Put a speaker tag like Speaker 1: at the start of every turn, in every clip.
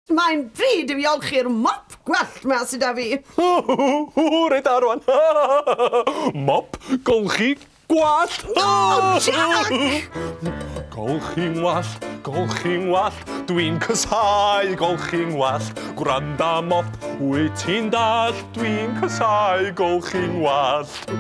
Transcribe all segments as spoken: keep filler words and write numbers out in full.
Speaker 1: Mae'n bryd i fi olchi'r mop gwallt 'ma sydd 'da fi.
Speaker 2: Reit da rwan. Mop, golchi, gwallt.
Speaker 1: Oh, Jack!
Speaker 2: Golchi'n wallt, golchi'n wallt, dwi'n casáu golchi'n wallt. Gwranda mop, wyt ti'n dallt, dwi'n casáu golchi'n wallt.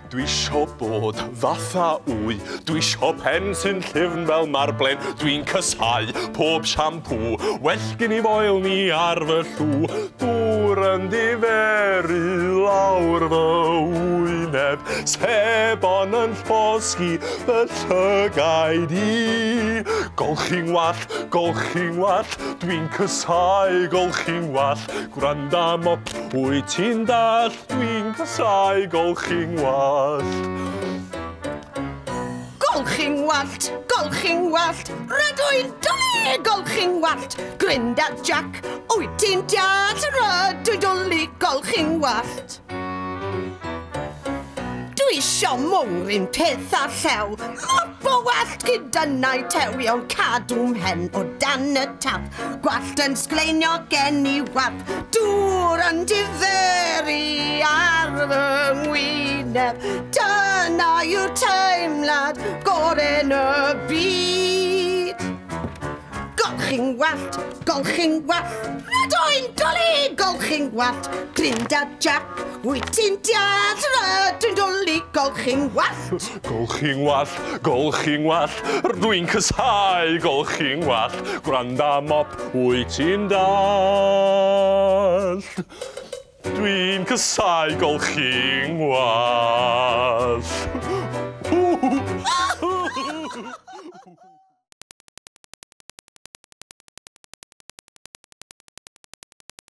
Speaker 2: Dwi isio bod fatha wy, dwi isio pen sy'n llyfn fel marblen, dwi'n casáu pob siampŵ, well gen i foel ni ar fy llw. Dŵr yn diferu lawr fy wyneb, sebon yn llosgi fy llygaid i. Golchi'n wallt, golchi'n wallt, dwi'n casáu golchi'n wallt. Gwranda mop, wyt ti'n dallt, dwi'n casáu golchi'n wallt.
Speaker 1: Golchi'n wallt, golchi'n wallt, rydw i'n dwlu golchi'n wallt. Gwranda Jack, wyt ti'n deall, rydw i'n dwlu golchi'n wallt. Dwi isio mwng peth â llew, mop o wallt gyda tewion cadw mhen o dan y tap. Gwallt yn sgleinio gen i wap, dŵr yn diferu ar fy ngwyneb. Dyna yw'r teimlad gorau'n y byd. Golchi'n wallt, golchi'n wallt, rydw i'n dwlu golchi'n wallt. Gwranda Jack, wyt ti'n deall, rydw i'n dwlu golchi'n wallt.
Speaker 2: Golchi'n wallt, golchi'n wallt, rwy'n casáu golchi'n wallt. Gwranda mop, wyt ti'n dallt. Dwi'n casáu golchi'n wallt.